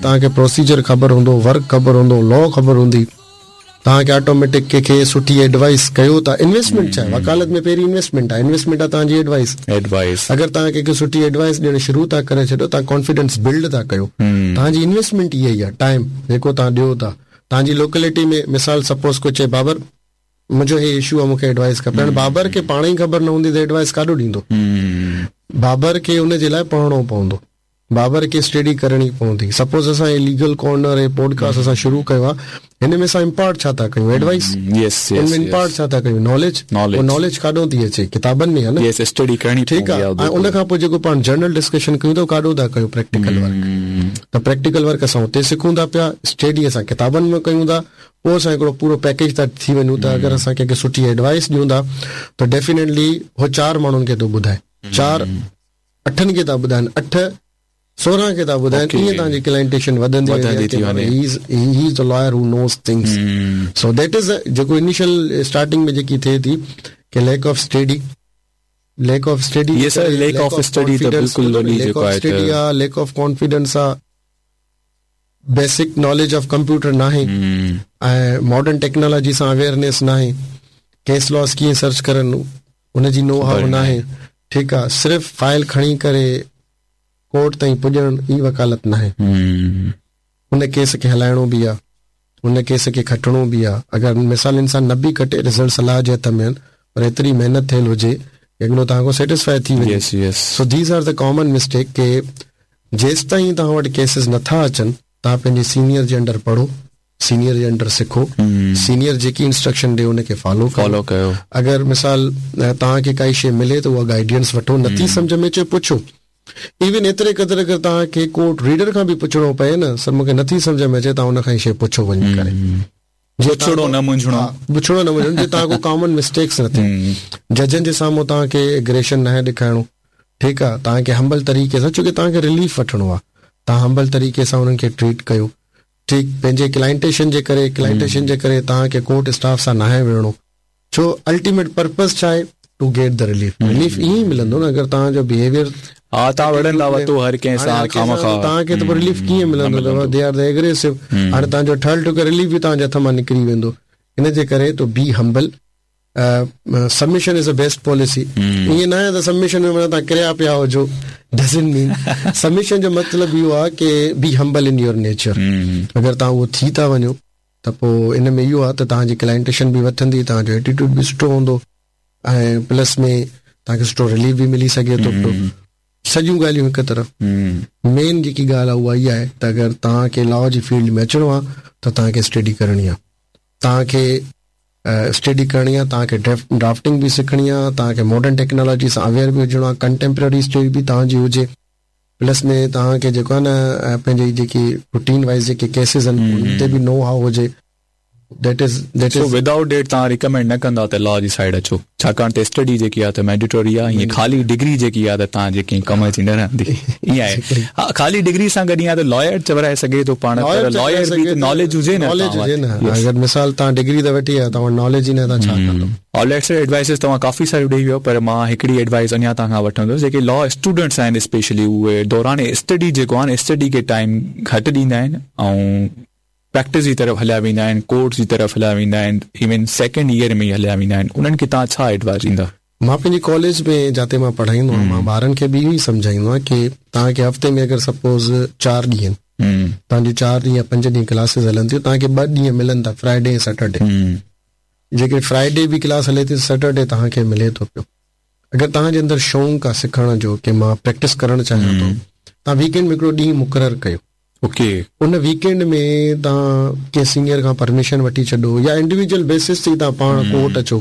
توهان کي پروسيجر خبر هوندو، ورڪ خبر هوندو، لا خبر هوندي، توهان کي آٽوميٽڪ ڪنهن کي سٺي ايڊوائس ڪيو ٿا، انويسٽمينٽ ڇا آهي؟ وڪالت ۾ پهرين انويسٽمينٽ آهي، انويسٽمينٽ آهي توهان جي ايڊوائس. ايڊوائس. اگر توهان ڪنهن کي سٺي ايڊوائس ڏيڻ شروع ٿا ڪري ڇڏيو، توهان ڪانفيڊنس بلڊ ٿا ڪيو، توهان جي انويسٽمينٽ اها ئي آهي، ٽائيم جيڪو توهان ڏيو ٿا، توهان جي لوڪلٽي ۾ مثال سپوز ڪو چئي بابر منهنجو هي اشو آهي مون کي ايڊوائس کپي، هاڻي بابر کي پاڻ ئي خبر نه هوندي ته ايڊوائس ڪاڏو ڏيندو، بابر کي ان جي لاء پڙهڻو پوندو. بابر کي اسٽڊي ڪرڻي پوندي. سپوز اسان هي ليگل ڪارنر هي پوڊڪاسٽ اسان شروع ڪيو آ هن ۾ اسان امپارٽ ڇا ٿا ڪيون ايڊوائس يس ان ۾ امپارٽ ڇا ٿا ڪيون ناليج ناليج اهو ناليج ڪاڏو ٿي اچي ڪتابن ۾ آ نه يس اسٽڊي ڪرڻي ٺيڪ آ ۽ ان کان پوء جيڪو پاڻ جنرل ڊسڪشن ڪيون ٿا ڪاڏو ٿا ڪيون پريڪٽيڪل ورڪ ته پريڪٽيڪل ورڪ اسان اتي سکون ٿا پيا اسٽڊي اسان ڪتابن ۾ ڪيون ٿا پوء اسان هڪڙو پورو پيڪيج ٿا ٿي وڃون ته اگر اسان ڪنهن کي سٺي ايڊوائس ڏيون ٿا ته ڊيفينيٽلي هو چار ماڻهن کي ٿو ٻڌائي چار اٺن کي ٿا ٻڌائن اٺ 16 کي ٿا ٻڌائن ائين توهان جي ڪلائنٽيشن وڌندي وڌندي ٿي وڃي he is the lawyer who knows things so that is جيڪو انيشل اسٽارٽنگ ۾ جيڪي ٿئي ٿي ڪي lack of study lack of study yes sir lack of study ته بلڪل وڏي جيڪو آهي اسٽڊي آ ليڪ آف ڪانفيڊنس آ بيسڪ ناليج آف ڪمپيوٽر ناهي ۽ ماڊرن ٽيڪنالاجي سان اويئرنيس ناهي ڪيس لاز ڪيئن سرچ ڪرن ان جي نو هائو ناهي ٺيڪ آ صرف فائل کڻي ڪري ڪورٽ تائين پڄڻ ئي وڪالت ناهي ان ڪيس کي هلائڻو به آ ان ڪيس کي کٽڻو به آ اگر مثال انسان نه به کٽي رزلٽس الله جي هٿ ۾ آهن پر ايتري محنت ٿيل هجي اڳلو توهان کان سيٽسفائي ٿي وڃي so these are the common mistake ڪي جيستائين توهان وٽ ڪيسز نٿا اچن توهان پنهنجي سينيئر جي انڊر پڙهو سينيئر جي انڊر سکو سينيئر جيڪي انسٽرڪشن ڏي ان کي فالو فالو ڪيو اگر مثال توهان کي ڪائي شي ملي ته اها گائيڊنس وٺو نٿي سمجهه ۾ اچي پڇو ايون ايتري قدر اگر توهان کي ڪورٽ ريڊر کان به پڇڻو پئي نه سر مونکي نٿي سمجهه ۾ اچي توهان ان کان ئي شي پڇو وڃي ڪري پڇڻو نه منجهڻو پڇڻو نه منجهڻو جي توهان ڪو ڪامن مسٽيڪس نه ٿئي ججن جي سامهون توهان کي اگريشن ناهي ڏيکارڻو ٺيڪ آ توهان کي همبل طريقي سان ڇو ڪي توهان کي رليف وٺڻو آ توهان همبل طريقي سان انهن کي ٽريٽ ڪيو ٺيڪ پنهنجي ڪلائنٽيشن جي ڪري ڪلائنٽيشن جي ڪري توهان کي ڪورٽ اسٽاف سان ناهي وڙهڻو ڇو الٽيميٽ پرپز ڇا آهي to get the relief relief ائين ئي ملندو نه اگر توهان جو بيهيويئر ها توهان وڙهندا وتو هر ڪنهن سان خوامخواه توهان کي ته پوء رليف ڪيئن ملندو they are the ايگريسو هاڻي توهان جو ٺهيل ٺڪيل رليف به توهان جي هٿ مان نڪري ويندو ان جي ڪري to be humble submission is a best policy ائين نه آهي ته سبمشن ۾ معنيٰ توهان ڪريا پيا هجو ڊزنٽ مين سبمشن جو مطلب اهو آهي ڪي be humble in your nature اگر توهان اهو ٿي ٿا وڃو ته پوء ان ۾ اهو آهي ته توهان جي ڪلائنٽيشن به وڌندي توهان جو ايٽيٽيوڊ به سٺو هوندو ۽ پلس ۾ توهان کي سٺو رليف به ملي سگهي ٿو پيو سڄيون ڳالهيون هڪ طرف مين جيڪي ڳالهه آهي اها اها آهي ته اگر توهان کي لا جي فيلڊ ۾ اچڻو آهي ته توهان کي اسٽڊي ڪرڻي آهي توهان کي اسٽڊي ڪرڻي آهي توهان کي ڊرافٽنگ به سکڻي آهي توهان کي ماڊرن ٽيڪنالاجي سان اويئر به هجڻو آهي ڪنٽيمپرري اسٽڊي به توهان جي هجي پلس ۾ توهان کي جيڪو آهي نه پنهنجي جيڪي روٽين وائز جيڪي ڪيسز آهن انهن تي به نو هائو هجي that is that is so without that توهان ريڪمينڊ نه ڪندا ته لا جي سائيڊ اچو ڇاڪاڻ ته اسٽڊي جيڪي آهي ته مينڊيٽوري آهي ائين خالي ڊگري جيڪي آهي ته توهان جي ڪنهن ڪم جي نه رهندي ائين آهي ها خالي ڊگري سان گڏ ائين آهي ته لائر چورائي سگهي ٿو پاڻ پر لائر به ته ناليج هجي نه ناليج هجي نه اگر مثال توهان ڊگري ته وٺي آيا توهان وٽ ناليج ئي نه توهان ڇا ڪندو. آل رائٽ سر ايڊوائسز توهان ڪافي ساريون ڏئي ويو پر مان هڪڙي ايڊوائس اڃا توهان کان وٺندس جيڪي لا اسٽوڊنٽس آهن اسپيشلي اهي دوران اسٽڊي جيڪو آهي نه اسٽڊي کي ٽائيم گهٽ ڏيندا آهن ۽ پريڪٽس جي طرف هليا ويندا آهن، ڪورٽس جي طرف هليا ويندا آهن، ايون سيڪنڊ ايئر ۾ ئي هليا ويندا آهن، انهن کي توهان ڇا ايڊوائس ڏيندا؟ مان پنهنجي ڪاليج ۾ جاتي مان پڙهائيندو آهيان مان ٻارن کي به اهو ئي سمجهائيندو آهيان ڪي توهان کي هفتي ۾ اگر سپوز چار ڏينهن توهان جون چار ڏينهن يا پنج ڏينهن ڪلاسز هلن ٿيون توهان کي ٻه ڏينهن ملن ٿا فرائيڊي ۽ سيٽرڊي جيڪڏهن فرائيڊي به ڪلاس هلي ٿي سيٽرڊي توهان کي ملي ٿو پيو اگر توهان جي اندر شوق آهي سکڻ جو ڪي مان پريڪٽس ڪرڻ چاهيان ٿو توهان ويڪينڊ ۾ هڪڙو ڏينهن مقرر ڪيو اوڪي. ان ويڪينڊ ۾ توهان ڪنهن سينيئر کان پرميشن وٺي ڇڏو يا انڊيويجوئل بيسس تي توهان پاڻ ڪورٽ اچو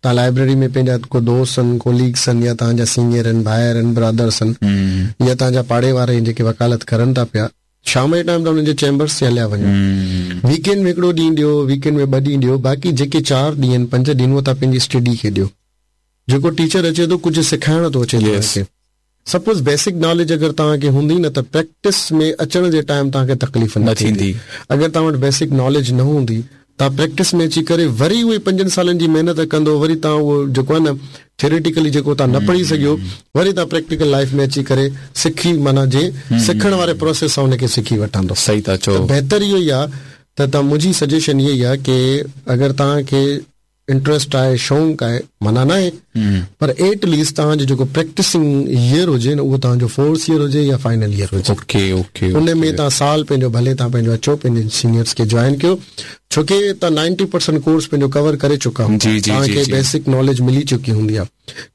توهان لائبريري ۾ پنهنجا ڪو دوست آهن ڪوليگس آهن يا توهان جا سينيئر آهن ڀائر آهن برادرس آهن يا توهان جا پاڙي وارا آهن جيڪي وڪالت ڪرن ٿا پيا شام جي ٽائيم توهان انهن جي چيمبرس تي هليا وڃو ويڪينڊ ۾ هڪڙو ڏينهن ڏيو ويڪينڊ ۾ ٻه ڏينهن ڏيو باقي جيڪي چار ڏينهن پنج ڏينهن اهو توهان پنهنجي اسٽڊي کي ڏيو جيڪو ٽيچر اچي ٿو ڪجهه سکائڻ ٿو اچي توهان کي سپوز بيسڪ ناليج اگر توهان کي هوندي نه ته پريڪٽس ۾ اچڻ جي ٽائيم توهان کي تڪليف نه ٿيندي. اگر توهان وٽ بيسڪ ناليج نه هوندي توهان پريڪٽس ۾ اچي ڪري وري اهي پنجن سالن جي محنت ڪندو وري توهان اهو جيڪو آهي نه ٿيوريٽيڪلي جيڪو توهان نه پڙهي سگهيو وري توهان پريڪٽيڪل لائف ۾ اچي ڪري سکي معنيٰ جي سکڻ واري پروسيس سان ان کي سکي وٺندو. صحيح ٿا چئو. ته بهتر اهو ئي آهي ته توهان منهنجي سجيشن اها ئي آهي ڪي اگر توهان کي انٽريسٽ آهي شونق آهي منع ناهي پر ايٽ ليسٽ توهان جو جيڪو پريڪٽسنگ ييئر هجي نه اهو توهان جو فورٿ ييئر هجي يا فائنل ييئر هجي اوڪي اوڪي ان ۾ توهان سال پنهنجو ڀلي توهان پنهنجو اچو پنهنجي سينيئرس کي جوائن ڪيو ڇو ڪي توهان نائنٽي پرسنٽ ڪورس پنهنجو ڪور ڪري چڪا هوندا جي جي توهان جي کي جي بيسڪ ناليج ملي چڪي هوندي آهي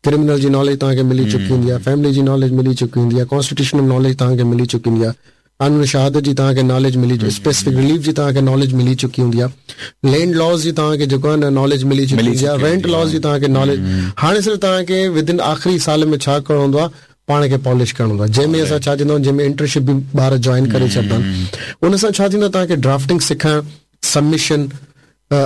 ڪرمنل جي ناليج توهان کي ملي چڪي هوندي آهي فيملي جي ناليج ملي چڪي هوندي آهي ڪانسٽيٽيوشنل ناليج توهان کي ملي چڪي هوندي آهي قانون شهادت جي توهان کي ناليج ملي اسپيسفڪ رليف جي توهان کي ناليج ملي چڪي هوندي آهي لينڊ لاز جي توهان کي جيڪو آهي نه ناليج ملي چڪي هوندي آهي رينٽ لاز جي توهان کي ناليج هاڻي صرف توهان کي ودن آخري سال ۾ ڇا ڪرڻو هوندو آهي پاڻ کي پالش ڪرڻو هوندو آهي جنهن ۾ اسان ڇا چوندا آهيون جنهن ۾ انٽرنشپ به ٻار جوائن ڪري ڇڏندا آهن ان سان ڇا ٿيندو آهي توهان کي ڊرافٽنگ سکڻ سبمشن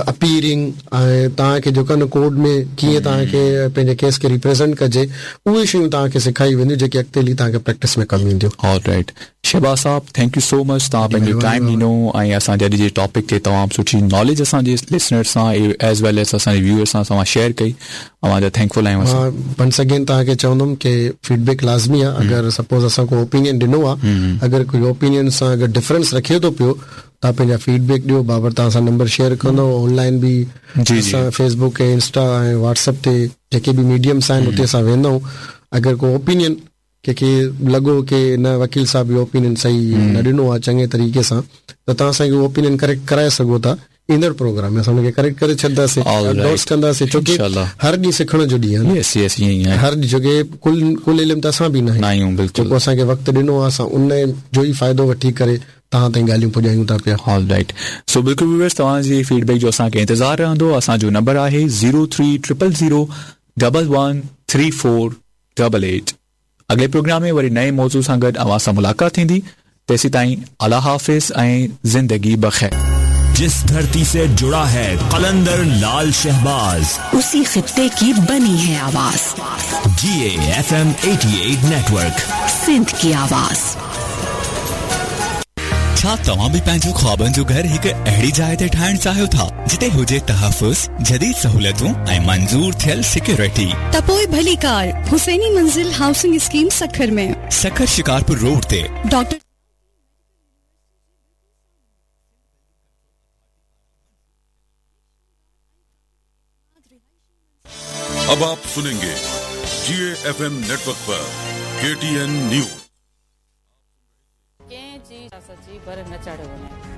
اپيئرنگ ۽ توهان کي جيڪو آهي نه ڪورٽ ۾ ڪيئن توهان کي پنهنجي ڪيس کي ريپريزنٽ ڪجي اهي شيون توهان کي سکائي وينديون جيڪي اڳتي هلي توهان کي پريڪٽس ۾ ڪم اينديون. آل رائيٽ شهباز صاحب thank you سو مچ توهان پنهنجو ٽائيم ڏنو ۽ اسان جي اڄ جي ٽاپڪ تي تمام سٺي ناليج اسان جي لسنرز سان ايز ويل ايز اسان جي ويوئرز سان توهان شيئر ڪئي اوهان جا thank فل آهيون اسان. مان ونس اگين توهان کي چوندم ڪي فيڊ بيڪ لازمي آهي اگر سپوز اسان ڪو اوپينين ڏنو آهي اگر ڪوئي اوپينين سان اگر ڊفرنس رکي ٿو پيو توهان پنهنجا فيڊ بيڪ ڏيو بابر توهان سان نمبر شيئر ڪندو آن لائن به جي جي اسان Facebook ۽ Insta ۽ WhatsApp تي جيڪي به ميڊيمس آهن اتي اسان ويندا آهيون اگر ڪو اوپينين ڪنهن کي لڳو ڪي نه وڪيل صاحب اهو اوپينين صحيح نه ڏنو آهي چڱي طريقي سان ته توهان اسان کي اهو اوپينين ڪريڪٽ ڪرائي سگهو ٿا ايندڙ پروگرام ۾ اسان ان کي ڪريڪٽ ڪري ڇڏنداسين آل انڊورس رائيٽ ڪنداسين ڇو ڪي انشاءالله هر ڏينهن سکڻ جو ڏينهن آهي نه يس يس ائين ئي آهي هر ڏينهن ڇو ڪي ڪل ڪل علم ته اسان به نه نه آهيون بلڪل جيڪو اسان کي وقت ڏنو آهي اسان ان جو ئي فائدو وٺي ڪري توهان تائين ڳالهيون پڄايون ٿا پيا. آل رائيٽ سو بلڪل ويورز توهان جي فيڊ بيڪ جو اسان کي انتظار رهندو اسان جو نمبر آهي zero three triple zero double one three four double eight اڳلي پروگرام ۾ وري نئين موضوع سان گڏ اوهان سان ملاقات ٿيندي تيسيتائين الله حافظ ۽ زندگي بخير. जिस धरती से जुड़ा है कलंदर लाल शहबाज उसी खित्ते की बनी है आवाज जी एफ एम 88 नेटवर्क सिंध की आवाज छा तव्हां बि पंहिंजो ख़्वाबनि जो घर हिकु अहिड़ी जाइ ते ठाहिणु चाहियो था जिते हुजे तहफ़ुज़, जदीद सहूलियतूं ऐं मंज़ूर थियल सिक्योरिटी? त पोइ भलीकार हुसैनी मंज़िल हाउसिंग स्कीम सखर में। सखर शिकारपुर रोड ते। डॉक्टर अब आप सुनेंगे जी एफ एम नेटवर्क पर KTN news. कंहिं जी सियासत जी बर न चाढ़ियो वञे।